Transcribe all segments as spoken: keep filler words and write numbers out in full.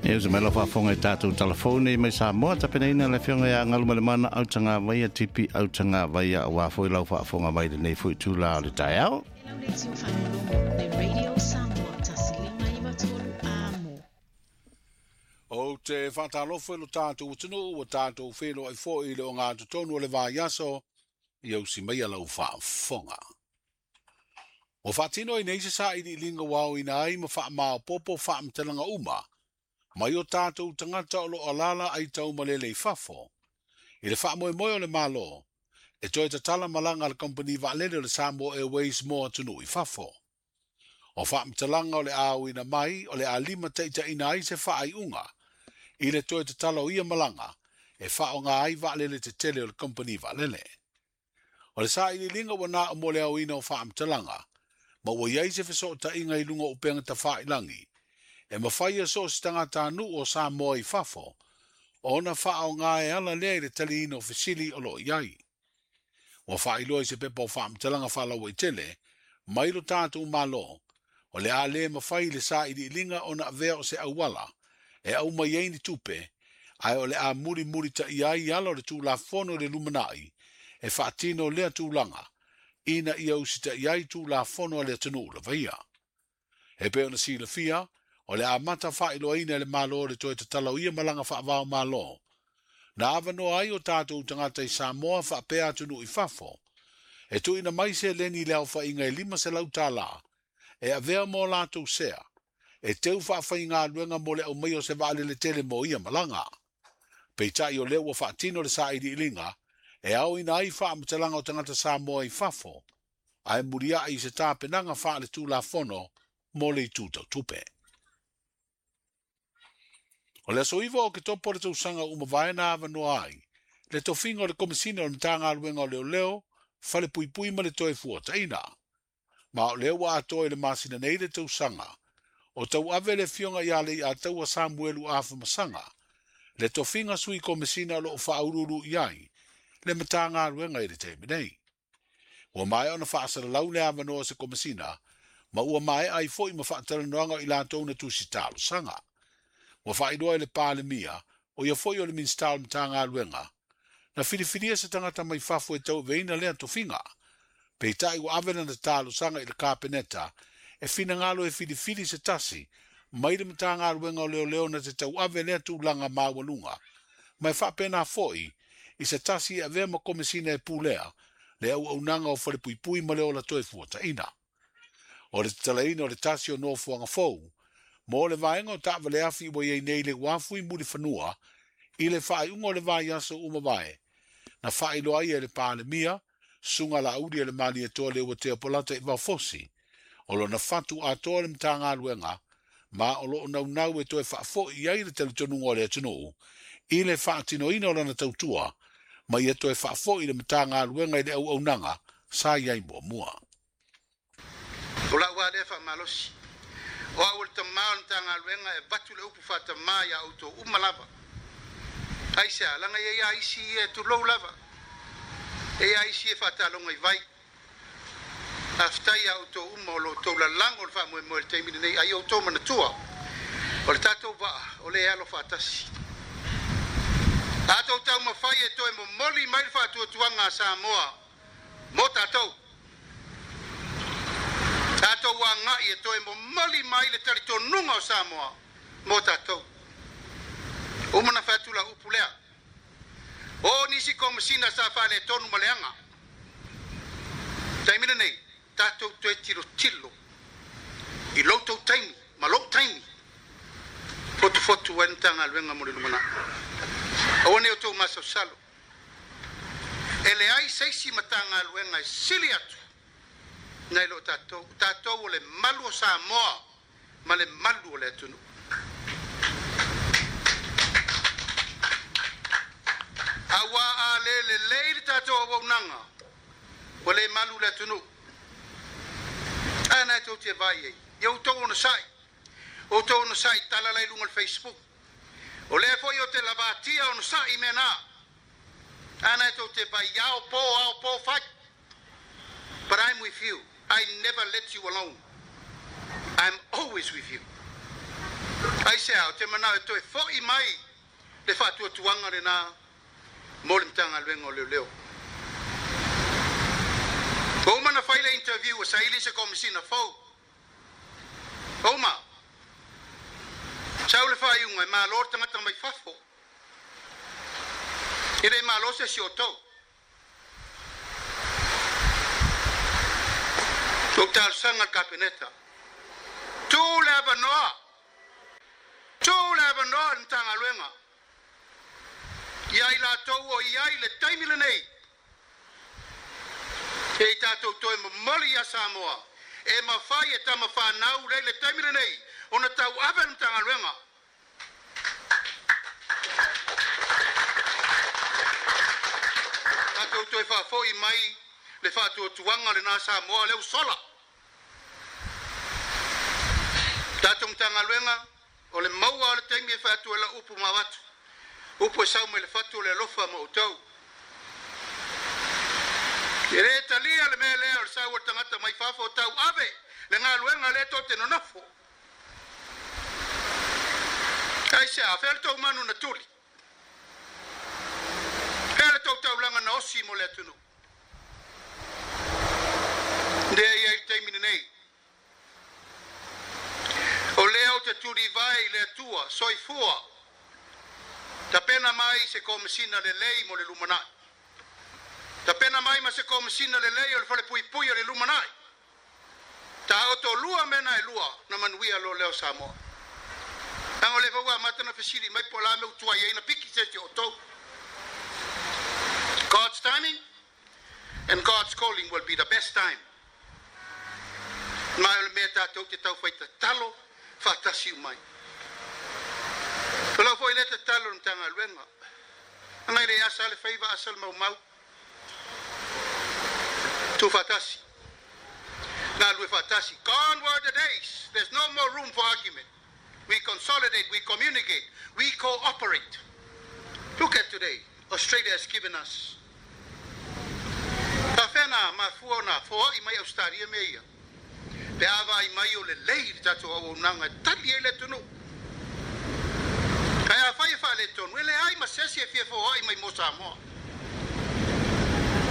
E usa mai lau faafofoga i tatou telefone mai Samoa tapenaina le afioga ia Galumalemana Autagavaia Tipi Autagavaia aua foi lau faafofoga mai lenei foi itulā o le taeao. Ou te faatalofa i lo tatou atunuu ua tatou feiloai foi i le ogatotonu o le vaiaso ia usi maia lau faafofoga. Ua faatino ai nei se sailiiliga ua aoina ai ma faamaopoopo faamatalaga uma mai o tatou tagata o lo o alaala ai taumalele i fafo i le faamoemoe o le Malo e toe tatala malaga a le kamupani vaalele o le Samoa Airways mo atunuu i fafo. O faamatalaga o le aoina mai o le a limataitaiina ai se faaiuga i le toe tatala o ia malaga e faaaoga ai vaalele tetele o le kamupani vaalele. O le sailiiliga ua na o mo le aoina o faamatalaga ma ua i ai se fesootaiga i luga o upega tafailagi e mafai e so o se tagatanuu o Samoa i fafo ona faaaoga e ala lea i le taliina o fesili o lo o i ai. Ua faailoa i se pepa o faamatalaga faalauaitele mai lo tatou Malo o le a le mafai le sailiiliga ona avea o se auala e aumai ai ni tupe ae o le a mulimulitaia ai ala o le Tulafono i le lumanai e faatino lea tulaga ina ia usitaia ai Tulafono a le atunuu lava ia. E pei ona silafia o le amata faailoaina e le Malo le toe tatala o ia malaga faavao Malo na avanoa ai o tatou tagata i Samoa faapea atunuu i fafo e tuuina mai seleni i le aofaiga e lima selau tala e avea mo latou sea e teu faafaigaluega mo le aumaia o se vaalele tele mo ia malaga. Peitai o lea ua faatino le sailiiliga e aoina ai faamatalaga o tagata Samoa i fafo ae muliai i se tapenaga faale-Tulafono mo le itu tautupe. O le aso iva o Oketopa o le tausaga ua mavae na avanoa ai le tofiga o le Komesina o le Matagaluega o Leoleo, Falepuipui ma le Toe Fuataina. Ma o lea ua atoa i le masina nei le tausaga o tauave le afioga ia Leiataua Samuelu Afamasaga le tofiga sui komesina o lo o faauluulu i ai le Matagaluega i le taimi nei. Ua maea ona faasalalau le avanoa o se komesina ma ua maea ai foi ma faatalanoaga o i latou na tusi talosaga. Ua faailoa i le Palemia, o ia foi o le Minisita o le Matagaluega, na filifilia se tagata mai fafo e tauaveina lea tofiga. Peitai ua ave lana talosaga i le Kapeneta e finagalo e filifili se tasi mai le Matagaluega o Leoleo na te tauave lea tulaga maualuga, ma e faapena foi i se tasi e avea ma komesina e pulea le auaunaga o Falepuipui ma le ola toe fuataina. O le tatalaina o le tasi o nofoaga fou mo le vaega o taavaleafi ua i ai nei le uafu i Mulifanua i le faaiuga o le vaiaso ua mavae na faailoa ai e le Palemia susuga Laauli e le Malietoa Leuatea Polata i Vaofosi o lona fatu atoa le Matagaluega ma o lo o naunau e toe faafoi i ai le talitonuga o le atunuu i le faatinoina o lana tautua ma ia toe faafoi le Matagaluega i le auaunaga sa i ai muamua. O lau lava lea faamalosi o au o le tamā o le Matagaluega e avatu le upu faatamā iā outou uma lava. Aisea, laga e i ai isi ia e tulou lava. E i ai isi e faataloga i vai. Faafetai iā outou uma o lo outou lalago o le faamoemoe i le taimi lenei, a ia outou manatua, o le tatou vaa o lea e alo faatasi. Tatou taumafai e toe momoli mai le faatuatuaga a Samoa mo tatou. Tatou agai e toe momoli mai le talitonuga o Samoa mo tatou. Uma na fai atu lau upu lea. O nisi komesina sa faaletonu ma leaga. Taimi lenei, tatou toe tilotilo i lo outou taimi ma lou taimi. Fotufotu ai le Matagaluega mo le lumanai. Aua ne i outou masalosalo. E leai se isi Matagaluega e sili atu nai lo tatou. O tatou o le malu o Samoa ma le malu o le atunuu. Auā a le lelei le tatou auaunaga, ua le malu le atunuu. A na e tou te vaai ai, ia outou onosai, outou onosai tala la i luga o le Facebook. O lea foi ou te lavatia onosai i mea na. A na e tou te vaai, ao po, ao po fai. But I'm with you. I never let you alone. I'm always with you. Aisea? Aisea o te manao e toe fo'i mai le faatuatuaga lenā mo le Matagaluega o Leoleo. Ua uma na fai le interview e saili se komisina fou. Uma. Sau le faaiuga e malo le tagata mai fafo. E le malo se si o tou. Tou talosaga le Kapeneta. Tuu le avanoa. Tuu le avanoa le Matagaluega. Ia i latou o i ai le taimi lenei. E i tatou toe momoli ia Samoa. E mafai e tamafanau lei le taimi lenei. Ona tau ave le Matagaluega. Tatou toe faafoi mai le faatuatuaga lenā Samoa leu sola. Tatou Matagaluega o le maua o le taimi e faatu e la upu ma avatu. Upu e sau mai le fatu o le alofa ma outou. E le talia le mea lea o le sau o le tagata mai fafo o tau ave le galuega lea tou te nonofo. Aisea, fea le tou manu na tuli. Fea le tou taulaga na osi mo le atunuu. Lea ia i le taimi lenei. O lea o te tulivae i le Atua, soifua. Tapena mai se komisina lelei mo le lumanai. Tapena mai ma se komisina lelei o le falepuipui o le lumanai. Ta oto lua mena e lua na manuia lo leo Samoa. Tango le faua mata na fesili mai po la me utua i na piki se te o tou. God's timing and God's calling will be the best time. Mai o le mea tātou te tau whai tatalo, whātasi umai. Ko lau foi le tatalo na Matagaluega. Ngai le asa le faiva asa le maumau. Tu whātasi. Ngā lue whātasi. Gone were the days. There's no more room for argument. We consolidate, we communicate, we cooperate. Look at today. Australia has given us. Ta whena mafua na foa i mai Australia me ia. Pe ava i mai o le lei le tatou au nanga tali e le tunu. Kai a whai e wha le tonu, ele ai ma sesi e fia foa i mai mo Samoa.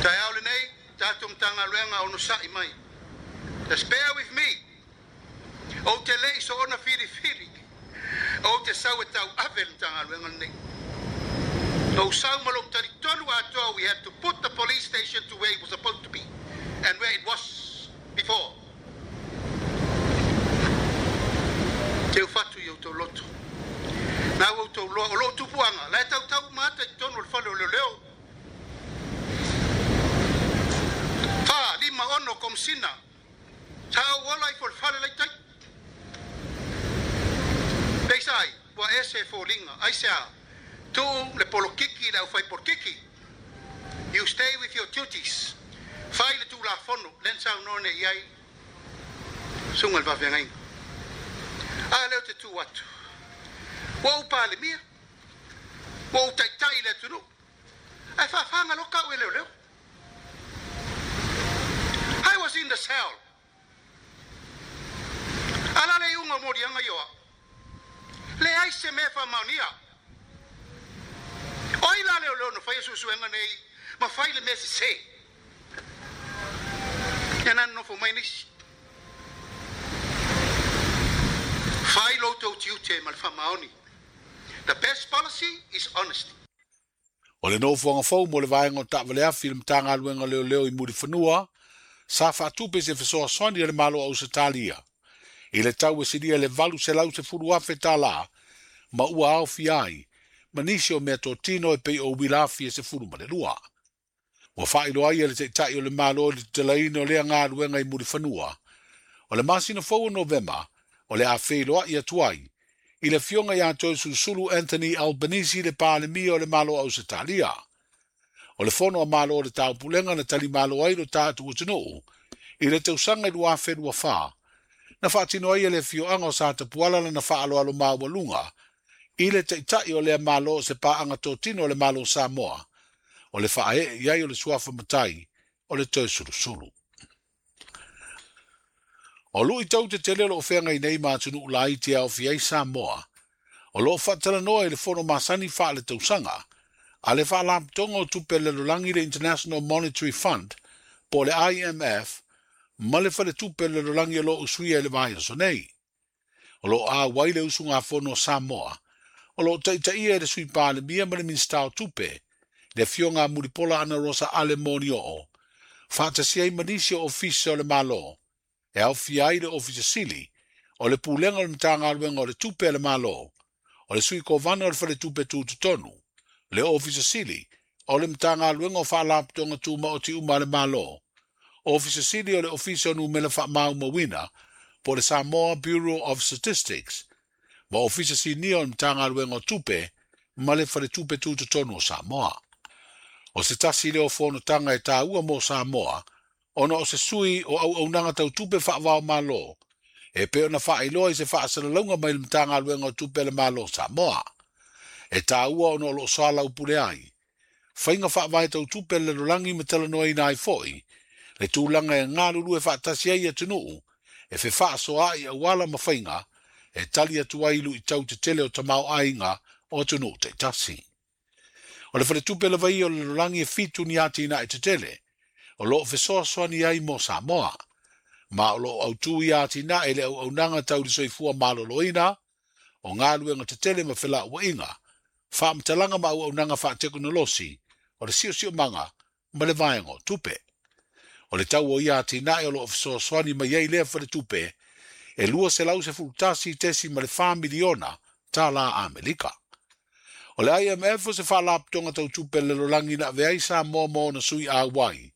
Tai au le nei, tatou Matagaluega ono sa'i mai. Just bear with me. O te lei so ona whiri whiri. O te sau e tau ave le Matagaluega nei. O sau malo tari tonu atoa, we had to put the police station to where it was supposed to be and where it was before. Te ufatu i o tau loto. Nā o tau loa, o lo tupuanga, lai tau tau mata i tonu o le fale o leo leo. Wha, lima ono komsina. Sa au ola i fo le fale lai tai. Peisai, ua ese fōlinga, aisea, tuu le polokiki le au whai polokiki. You stay with your duties. Whai le tū la fono, len sau none i ai. Sunga le vawhengainga. A leo te tū atu. Ua upale mia. Ua utaitai le atunu. Ai whawhanga lo kau e leo leo. I was in the cell. Ala le unga morianga ioa. Le ai se mea whamaunia. Oi la leo leo no whai susuenga nei. Ma whai le mea se se. Ia nana nofo mai nisi. Whai lo tau tiute ma le whamaoni. The best policy is honesty. O le nofoanga fou mo le vaenga o taavaleafi le Matagaluega Leoleo i Mulifanua, sa faatupe se fesoasoani a le Malo o Ausetalia. I le tau e silia le valu selau sefulu afe tālā, ma ua aofia ai, ma nisi o mea totino e pei o uila afi e sefulu ma le lua. Ua faailoa ai e le Taitai o le Malo i le tatalaina o lea galuega i Mulifanua. O le masina fou o Novema, o le a feiloa'i atu ai, i le afioga ia Toeolesulusulu Anthony Albanese le Palemia o le Malo o Ausetalia. O le fono a Malo o le Taupulega na talimalo ai lo tatou atunuu, i le tausaga i lua afe lua fa, na faatino ai e le afioaga o Satapuala lana faaaloalo maualuga, i le Taitai o lea Malo o se paaga totino o le Malo o Samoa, o le faaee i ai o le suafa matai o le Toeolesulusulu. O luʻi tau tetele o loo feagai nei ma atunuu laiti e aofia ai Samoa, O loo faatalanoa i le fono masani faaletausaga a le Faalapotopotoga o Tupe a le Lalolagi le International Monetary Fund po o le I M F ma le Faletupe o le Lalolagi o loo usuia i le vaiaso nei. O loo auai le usugafono o Samoa o loo taitaia e le Sui Palemia ma le Minisita o Tupe le afioga a Mulipola Anarosa Ale Molioo faatasi ai ma nisi o ofisa o le Malo e aofia ai le Ofisa Sili o le Pulega o le Matagaluega o le Tupe a le Malo, o le Sui Kovana o le Faletupe Tutotonu, le Ofisa Sili o le Matagaluega o Faalapotopotoga Tumaoti uma a le Malo, Ofisa Sili o le Ofisa o Numera Faamaumauina po o le Samoa Bureau of Statistics, ma Ofisa Sinia o le Matagaluega o Tupe ma le Faletupe Tutotonu o Samoa. O se tasi lea o fonotaga e taua mo Samoa, ona o se sui o auaunaga tautupe faavao Malo, e pei ona faailoa i se faasalalauga mai le Matagaluega o Tupe a le Malo o Samoa. E taua ona o loo soalaupule ai faiga faavae tautupe a le lalolagi ma talanoaina ai foi le tulaga e galulue faatasi ai atunuu e fefaasoaai auala ma faiga e tali atu ai luitau tetele o tamaoaiga o atunuu taitasi. O le faletupe lava ia o le lalolagi e fitu ni atinae tetele o loo fesoasoani ai mo Samoa, ma o loo autū ia atinae le auaunaga tau le soifua maloloina o galuega tetele ma felauaiga, faamatalaga ma auaunaga faatekonolosi o le siosiomaga ma le vaega o tupe. O le tau o ia atinae o loo fesoasoani mai ai lea faletupe e lua selau sefulutasi tesi ma le fa miliona tālā Amerika. O le I M F o se faalapotopotoga tautupe a le lalolagi na avea ai Samoa ma ona sui auai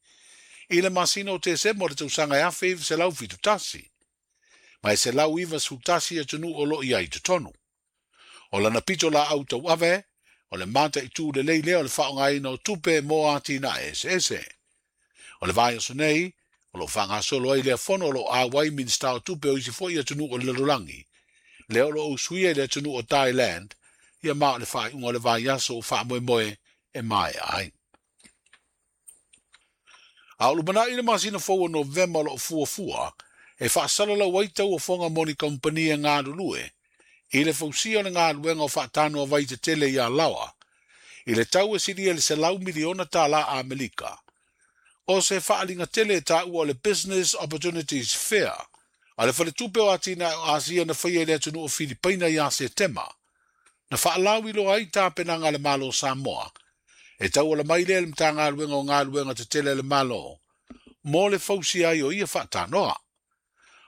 i le masina o Tesema o le tausaga e afe iva selau fitu tasi, ma e selau iva sefulutasi atunuu o loo i ai totonu. O lana pito laau tauave, o le mataitū lelei lea o le faaaogaina o tupe mo atinae eseese. O le vaiaso nei, o loo faagasolo ai lea fono o loo auai Minisita o Tupe o isi foi atunuu o le lalolagi, lea o loo usuia i le atunuu o Thailand, ia ma o le faaiuga o le vaiaso o faamoemoe e maea ai. A o lumanai le masina fou o Novema o loo fuafua, e faasalalau ai tauofoga mo ni kamupani e galulue, i le fausia o le galuega o faatanoa vai tetele ia Laoa, i le tau e silia le selau miliona tālā Amerika. O se faaliga tele e taua o le Business Opportunities Fair, a le Faletupe o Atinae o Asia na faia i le atunuu o Filipaina ia Setema, na faalauiloa ai tapenaga a le Malo o Samoa, e tauala mai lea le Matagaluega o Galuega Tetele a le Malo, mo le fausia ai o ia faatanoa.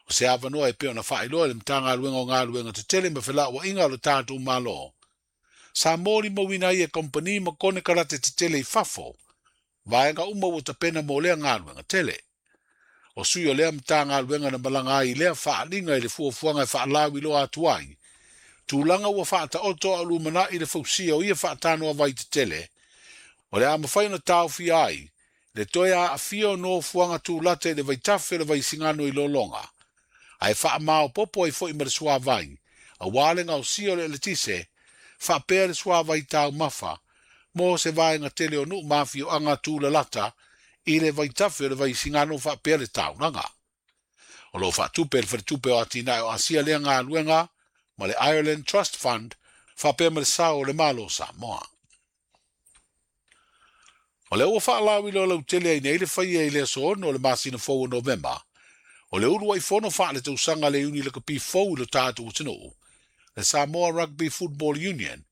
O se avanoa e pei ona faailoa i le Matagaluega o Galuega Tetele ma felauaiga o le tatou Malo, sa molimauina ai e kamupani ma konekarate tetele i fafo, vaega uma ua tapena mo lea galuega tele. O sui o lea Matagaluega na malaga ai i lea faaliga i le fuafuaga e faalauiloa atu ai, tulaga ua faataoto a o lumanai le fausia o ia faatanoa vai tetele, o le a mafai ona taofia ai le toe aafia o nofoaga tulata i le vaitafe o le Vaisigano i Lologa, ae faamaopopo ai foi ma le suavai, auā le gaosia o le eletise, faapea le suavai taumafa, mo se vaega tele o nuu ma afioaga tulalata i le vaitafe o le Vaisigano faapea le taulaga. O loo faatupe le Faletupe o Atinae o Asia lea galuega ma le Ireland Trust Fund faapea ma le sao o le Malo o Samoa. O lea ua faalauiloa lautele ai nei le faia i le aso ono o le masina fou o Novema, o le uluai fono faaletausaga le iuni lakapi fou i lo tatou atunuu, le Samoa Rugby Football Union,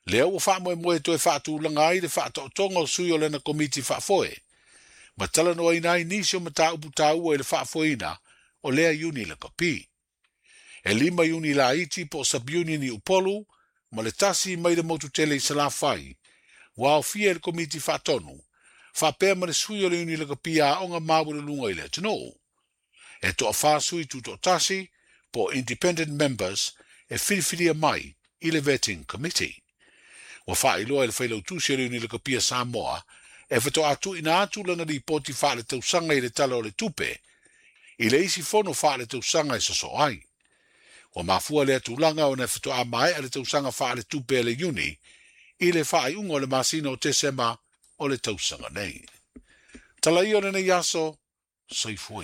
lea ua faamoemoe toe faatulaga ai le faataotoga o sui o lana komiti faafoe, ma talanoaina ai nisi o mataupu taua i le faafoeina o lea iuni lakapi. E lima iuni laiti po o sub-union i Upolu, ma le tasi mai le motu tele i Salafai, ua aofia i le komiti faatonu, faapea ma le sui o le iuni lakapi aoga maualuluga i le atunuu. E toafā sui tutoatasi po o independent members e filifilia mai i le Vetting Committee. Ua faailoa i le failautusi o le iuni lakapi a Samoa e fetoatuina atu lana lipoti faaletausaga i le tala o le tupe, i le isi fono faaletausaga e sosoo ai. Ua mafua lea tulaga ona e fetoa maea le tausaga faaletupe a le iuni i le faaiuga o le masina o Tesema o le tausaga nei. Tala ia o lenei aso, soifua.